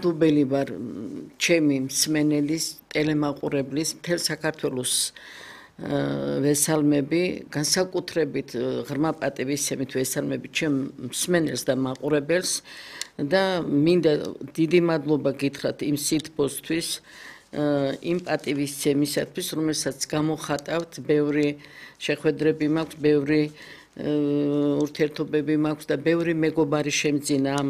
მადლობელი ვარ ჩემი მსმენელის, ტელემაყურებლის, მთელ საქართველოს ვესალმები, განსაკუთრებით ღრმა პატივისცემით ვესალმები ჩემ მსმენელს და მაყურებელს და მინდა დიდი მადლობა გითხრათ იმ სითბოსთვის, იმ პატივისცემისათვის, რომელსაც გამოხატავთ, ბევრი შეხვედრები მაქვს, ბევრი ურთიერთობები მაქვს და ბევრი მეგობარი შემძინა ამ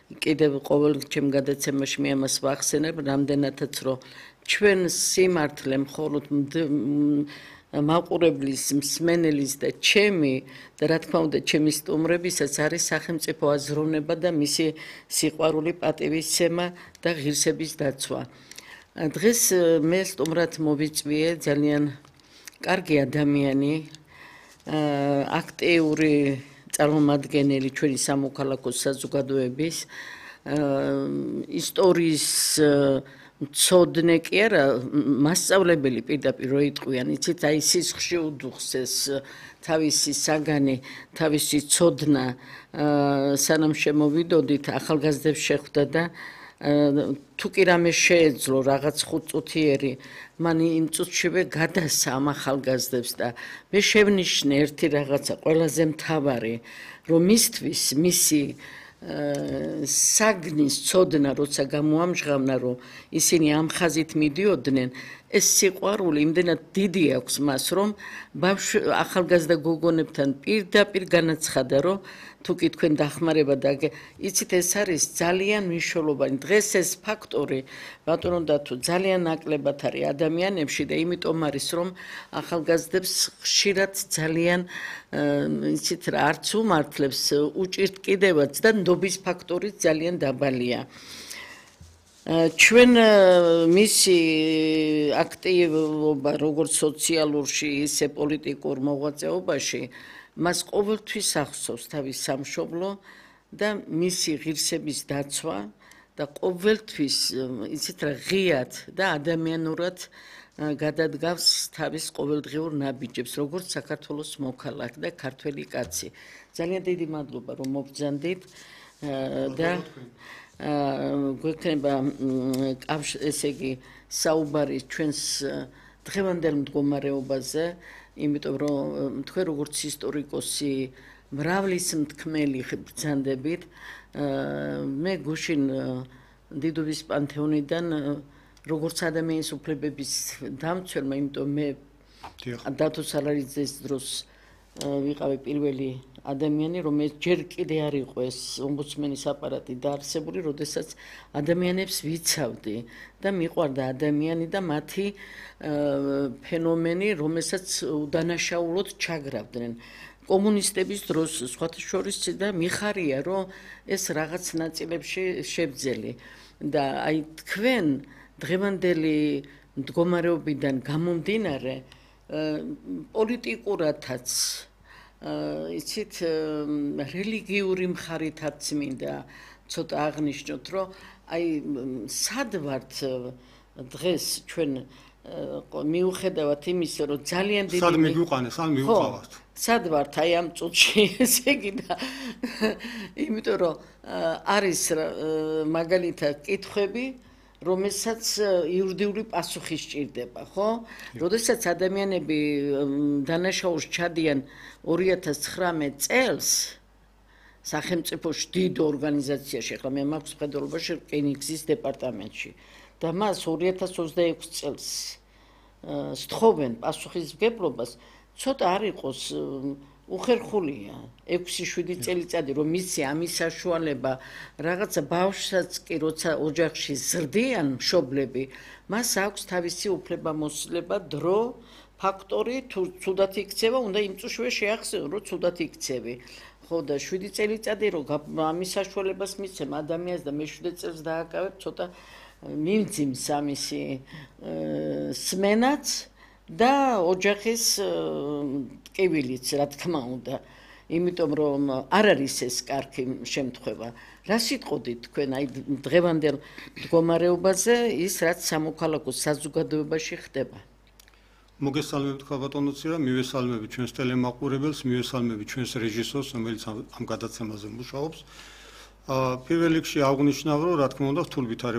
კიდევ ყოველ ჩემ გადაცემაში მე ამას ვახსენებ, რამდენადაც რომ ჩვენ სიმართლე მხოლოდ მაყურებლის, მსმენელის და ჩემი და რა თქმა უნდა ჩემი სტუმრებისაც არის სახელმწიფო აზროვნება და მისი სიყვარული, პატივისცემა და ღირსების დაცვა. დღეს მე სტუმრად მოვიწვიე ძალიან კარგი ადამიანი, აქტიური წარმომადგენელი ჩვენი სამოქალაქო საზოგადოების, ისტორიის მცოდნე კი არა, მასწავლებელი პირდაპირ რო იტყვიან, იცით, აი სისხლში უდუხს ეს თავისი საგანი, თავისი ცოდნა, სანამ შემოვიდოდით, ახალგაზრდებს შეხვდა და თუ კი რამე შეეძლო რაღაც 5 წუთიერი, მან იმ წუთშივე გადასცა ამ ახალგაზრდებს და მე შევნიშნე ერთი რაღაცა ყველაზე მთავარი, რომ მისთვის მისი საგნის ცოდნა როცა გამოამჟღავნა, რომ ისინი ამ ხაზით მიდიოდნენ, ეს სიყვარული იმდენად დიდი აქვს მას, რომ ახალგაზრდა გოგონებთან პირდაპირ განაცხადა, რომ თუ კი თქვენ დახმარება და იცით, ეს არის ძალიან მნიშვნელოვანი. დღეს ეს ფაქტორი ბატონო დათო ძალიან ნაკლებად არის ადამიანებში და იმიტომ არის, რომ ახალგაზრდებს ხშირად ძალიან იცით რა, არც უმართლებს, უჭირთ კიდევაც და ნდობის ფაქტორი ძალიან დაბალია. ჩვენ მისი აქტივობა როგორც სოციალურში, ისე პოლიტიკურ მოღვაწეობაში მას ყოველთვის ახსოვს თავის სამშობლო და მისი ღირსების დაცვა და ყოველთვის იცით რა, ღიად და ადამიანურად გადადგავს თავის ყოველდღიურ ნაბიჯებს, როგორც საქართველოს მოქალაქ და ქართველი კაცი. ძალიან დიდი მადლობა, რომ მობრძანდით და გვექნება ესე იგი საუბარი ჩვენს დღევანდელ მდგომარეობაზე, იმიტომ რომ თქვენ როგორც ისტორიკოსი მრავლის მთქმელი ბრძანდებით, მე გუშინ დიდუბის პანთეონიდან როგორც ადამიანის უფლებების დამცველმა, იმიტომ მე დათო სალარიძის დროს ვიყავი პირველი ადამიანი, რომელიც ჯერ კიდე არ იყო ეს ომბუდსმენის აპარატი დაარსებული, როდესაც ადამიანებს ვიცავდი და მიყვარდა ადამიანი და მათი ფენომენი, რომელსაც უდანაშაულოდ ჩაგრავდნენ. კომუნისტების დროს სხვათა შორის და მიხარია, რომ ეს რაღაც ნაწილებში შევძელი და აი თქვენ დღევანდელი მდგომარეობიდან გამომდინარე პოლიტიკურათაც იცით, რელიგიური მხარითაც მინდა ცოტა აღნიშნოთ, რომ აი სად ვართ დღეს ჩვენ მიუხედავად იმისა, რომ ძალიან დიდი სად მიგვიყვანეს, ან მივუყავართ? სად ვართ აი ამ წუთში, ესე იგი და იმიტომ რომ არის მაგალითად კითხვები, რომელსაც იურიდიული პასუხი სჭირდება, ხო? როდესაც ადამიანები დანაშაულს ჩადიან 2019 წელს სახელმწიფოში დიდ ორგანიზაციაში, ახლა მე მაქვს მხედველობაში რკინიგზის დეპარტამენტში და მას 2026 წელს სთხოვენ პასუხისმგებლობას, ცოტა არ იყოს უხერხულია 6-7 წელიწადი რომ მისცე ამის საშუალება რაღაცა ბავშვსაც კი როცა ოჯახში ზრდიან მშობლები, მას აქვს თავისი უფლებამოსილება, დრო, ფაქტორი, თუ ცუდად იქცევა, უნდა იმ წუთშივე შეახსენო, რომ ცუდად იქცევი. ხო და 7 წელიწადი რომ ამის საშუალებას მისცემ ადამიანს და მე 7 წელს დააკავებ, ცოტა მიმძიმს ამისი სმენაც და ოჯახის ტკივილიც, რა თქმა უნდა, იმიტომ რომ არ არის ეს კარგი შემთხვევა. რა სიტყოდით თქვენ აი დღევანდელ მდგომარეობაზე, ის რაც სამოქალაქო საზოგადოებაში ხდება? მოგესალმებით ბატონო ცირა, მივესალმებით ჩვენს ტელემაყურებელს, მივესალმებით ჩვენს რეჟისორს, რომელიც ამ გადაცემაზე მუშაობს. პირველ რიგში აღნიშნავ, რომ რა თქმა უნდა რთულ ვითარებაში